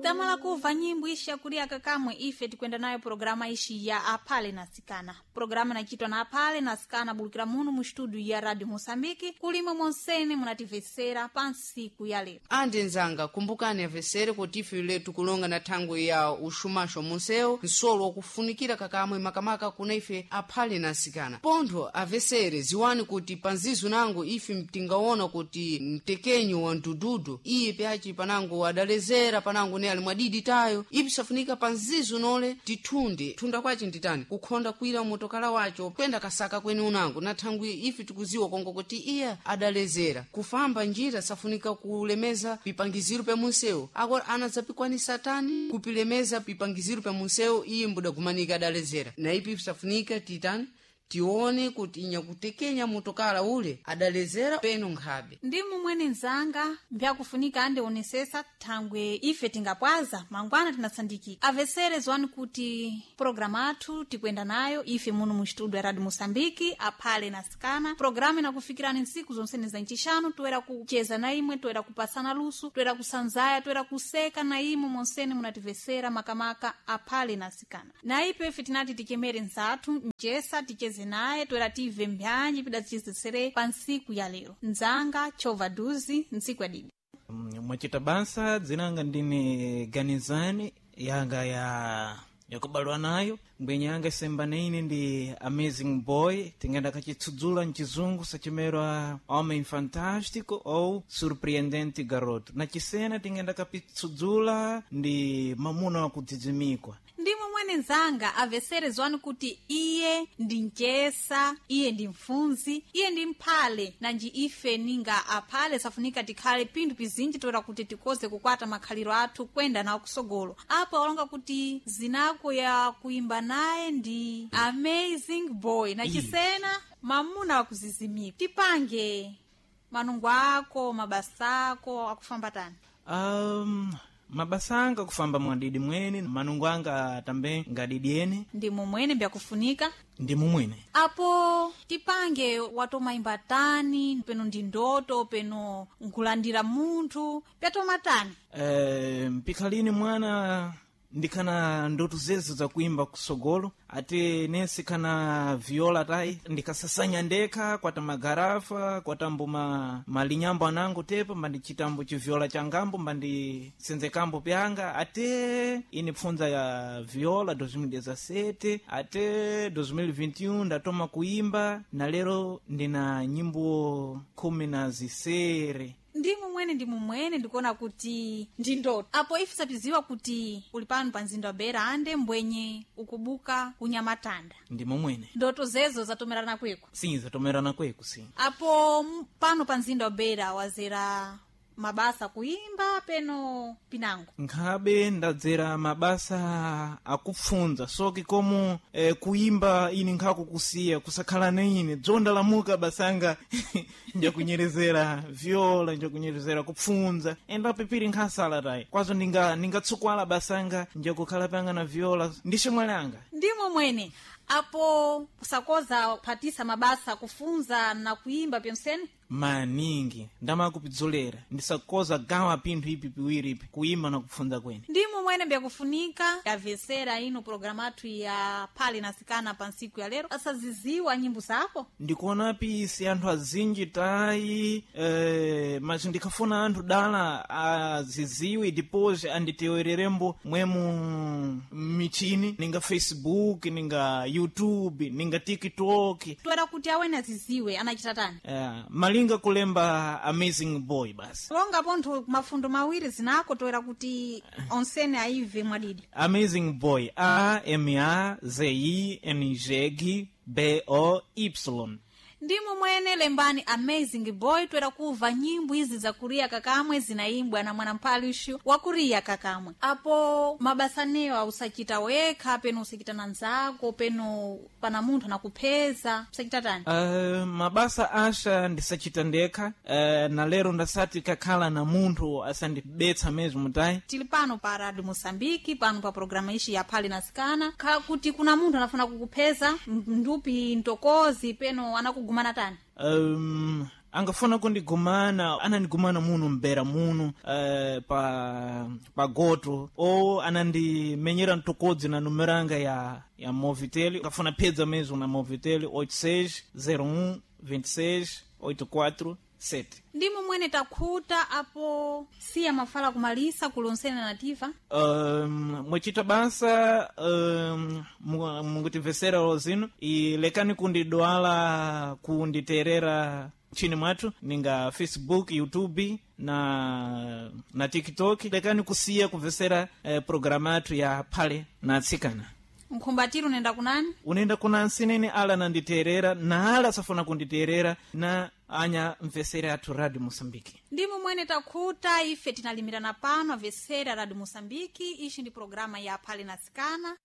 Tamala kuva nyimbo ishi yakulia kakamwe ife tikwenda nayo programa ishi ya apale na sikana. Programa inachitwa na apale na sikana bulukira munu mu studio ya Radio Mosambiki kulima monsene munativesera pa nsiku ya lero. Andi nzanga, kumbukani avesere kuti ife letu kulonga na thangwi ya uxumaxo munsewu, nsolo wakufunikira kakamwe makamaka kuna ife aphale na asikana. Pontho avesere ziwani kuti panzizo nango ife mtingawona kuti mtekenyo wa mdududu iye pyaci panango adalezera panango ne ali mwadidi tayo, ipi safunika panzizo nole tithunde thunda kwaci nditani kukhonda kwira motokala waco kwenda kasaka kweni unango na thangwi ife tikuziwa kongo kuti iye adalezera kufamba njira safunika kulemeza pipangiziro pya munsewu. Agora anadzapikwanisa tani kupilemeza pipangiziro pya munsewu iye mbudagumanika adalezera. Na ipi safunika titani tione kuti inyakutekenya motokala ule adalezera peno nkhabe. Ndi mumwene nzanga mbyakufunika andionesesa thangwe ife tingapwaza mangwana tinasandikika. Avesere zwani kuti programa athu tikwenda nayo ife muno mu studio ya Radio Mosambiki aphale na sikana. Programa inakufikirani nsiku zonsene za ncixanu, toera kucheza na imwe, toera kupasana lusu, toera kusanzaya, toera kuseka na imwe monsene munativesera makamaka aphale na sikana. Na ipe ife tinati tichemere nzathu mchesa ticheze naye toera tive mbyanji pidatichezesere pa nsiku ya lero. Nzanga chova duzi nsiku ya didi. Mwachita basa, dzinanga ndine Ganizani yanga ya yakubalwa nayo mbwenye yanga isembane ine ndi Amazing Boy, tingenda kachitsudzula mchizungu sachimerwa Homem Fantástico ou Surpreendente Garoto. Na chisena tingenda kapitsudzula ndi Mamuna wa Kudzidzimikwa. Ndi momwene nzanga avesere zwani kuti iye ndi mchesa, iye ndi mfunzi, iye ndi mphale, nanji ife ninga aphale safunika tikhale pinthu pizinji toera kuti tikoze kukwata makhaliro athu kwenda nawo kusogolo. Apo alonga kuti zinako ya kuimba naye ndi Amazing Boy na chisena mamuna wakuzizimika. Tipange manungo ako mabasa ako akufamba tani? Mabasa anga kufamba mwadidi mwene, manungo anga tambe ngadidi ene. Ndi momwene mbyakufunika ndi mumwene. Apo tipange watomaimba tani peno ndi ndoto peno nkulandira munthu pyatoma tani? Mpikhalini mwana ndikhana ndoto zezo zakuimba kusogolo, ate nese khana viola tayi ndikasasanya ndekha kwata magarafa kwatambo malinyambo anango tepa mbandichitambo chiviola changambo mbandisenzekambo pyanga, ate ine pfunza ya viola 2017 ate 2021 ndatoma kuimba na lero ndina nyimbo 16. Ndi mumwene ndi mumwene ndikuona kuti ndi ndoto. Apo ife sapiziwa kuti uli pano pa mzinda wa Beira ande mbwenye ukubuka kunyamatanda. Ndi mumwene. Ndoto zezo zatomerana kweko? Sim, zatomerana kweko, sim. Apo pano pa mzinda wa Beira wazera mabasa kuimba peno pinango? Nkhabe ndadzera mabasa akupfunza soke komo kuimba ini nkhakukusiya kusakhala na ine dzondalamuka basanga njakunyerezera viola, njakunyerezera kupfunza enda pipiri nkhasala tayi kwazo ningatsukwala basanga njakukhala panga na viola ndi ximwali anga. Ndimo mwene. Apo kusakoza kuphatisa mabasa kufunza na kuimba pyonsene? Maningi ndamakupidzolera ndisakoza gawa pinthu ipi piwiri ipi kuimba na kupfunza kwene. Ndimo mwene mbyakufunika yavesera ino programa athu ya phale na sikana pa nsiku ya lero asaziziwa nyimbo zako. Ndikuonapi si anthu azinji tayi mas ndikhafuna anthu dala aziziwe depois anditewererembo mwemu michini ninga Facebook, ninga YouTube, ninga TikTok. Toera kuti awene aziziwe anachita tani? Malinga kulemba Amazing Boy basi. Longa pontho mafundo mawiri zinako toera kuti onsene aive mwadidi. Amazing Boy, A M A Z I N G B O Y. Ndimo mwene lembani Amazing Boy toera kuva nyimbo izi zakuriya kakamwe zinaimbwa na mwanampalishu wakuriya kakamwe. Apo mabasa neyo ausachita wekha peno usachita na nzako peno pana munthu anakupheza usachita tani? Mabasa asha ndisachita ndekha, na lero ndasati kakhala na munthu asandibetsa mesmo tayi. Tili pano pa Radio Mosambiki pano pa programa ishi ya Phale na Sikana kha kuti kuna munthu anafuna kukupheza ndupi ntokozi peno anakugumana tani? Angafuna kundigumana, anandigumana muno mbera muno pa goto, ou anandimenyera mtokodzi na numero yanga ya Movitel. Angafuna pedza mesmo na Movitel 86 01 26 84 7. Ndimo mwene takhuta apo siya mafala kumalisa kulonsena nativa. Mwechita basa, mungutimvesera lozino e lekani kundidwala kunditerera nchini mwathu ninga Facebook, YouTube na TikTok. Lekani kusiya kumvesera programa yathu ya phale na atsikana. Nkhumbatiro unaenda kunani? Unaenda kuna nsinene ala nanditerera na ala safuna kunditerera na anya mvesera athu Radio Moçambique. Ndimo mwene takhuta ife tinalimirana pano avesera Radio Moçambique. Ixi ndi programa ya phale na atsikana.